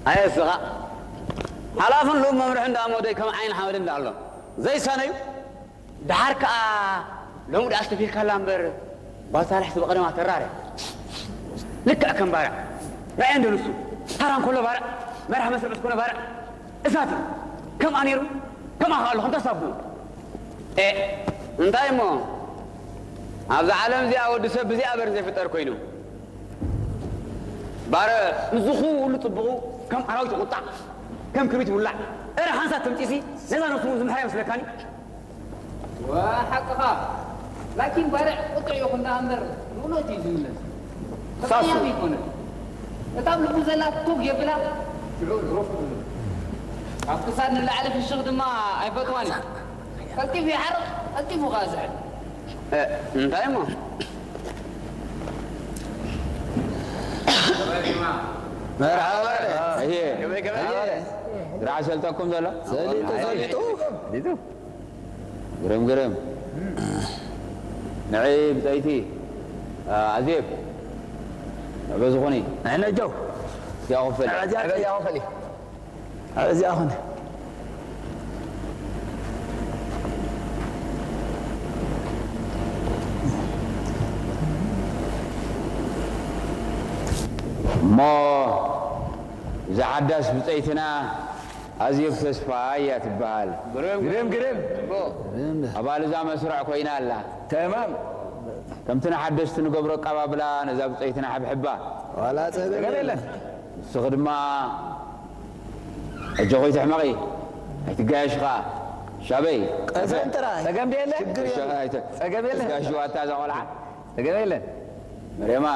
ኣየ እስኻ ሓላፍን ልኡም መምርሒ እንዳ ሞደይ ከም ዓይን ሓመድ እንዳ ኣሎ ዘይሳነዩ። ደሓር ከኣ ሎሚ ደኣ ኣስተፊርካላ እምበር ባልሳልሕስ ብቐደማ ተራረ። ልክዕ ከም ባርዕ ራእየ እንዶ ንሱ ታራ እንከሎ ባርዕ መርሓ መስርዕ ዝኾነ ባርዕ እሳት እዩ። ከምኣ ነይሩ ከምኣ ከኣ ኣሎ ከምታ ሳቡ። ኤ እንታይ እሞ ኣብዛ ዓለም እዚኣ ወዲ ሰብ ብዚኣ በር ዘይፍጠር ኮይኑ ባረ ምስዚ ኩሉ ጽቡቑ ከም ኣራዊት ይቑጣዕ ከም ክርቢት ይውላዕ። እረ ሓንሳብ ተምጺሲ ነዛ ነፍሱ ዝምሕራ ይመስለካኒ። ወሓቅኻ ላኪን ባርዕ ቁጥዕ ይኹን ደኣ እምበር ንእውነት እዩ ዝምለስ። ተቐያሚ ኣይኮነን። እታ ኣብ ልቡ ዘላ ቱግ የብላ ሽዑ ሮፍ ትብል። ካብ ክሳድ ንላዕሊ ፍሽኽ ድማ ኣይፈትዋን እዩ። ቀልጢፉ ይሓርቕ ቀልጢፉ ከኣ ዝሕል። እንታይ እሞ መርሓባ እየ ስራሕ ሰልጠኩም ዘሎ ሰሊጡ ሰሊጡ ግርም ግርም ንዒ ብፀይቲ ኣዜብ ንዕበ ዝኾኒ ንሕነጀው እዚኣ ክፈል እዚኣ ኹን እሞ እዛ ሓዳስ ብፀይትና ኣዜብ ተስፋ እያ ትበሃል። ግርም ግርም ኣባል እዛ መስርዕ ኮይና ኣላ። ተማም ከምቲ ንሓደስቲ ንገብሮ ኣቀባብላ ነዛ ብፀይትና ሕብሕባ። ዋላ ጸገም የለን። ንስኺ ድማ ኣጆኺ ትሕመቒ ኣይትጋየሽ ኸዓ። ሻበይ ቀዘን ጥራይ ጸገም ድየለ? ሽግር የለን። ጸገም የለን። ጋሽ ዋታ እዛ ቆልዓ ጸገም የለን። መርያማ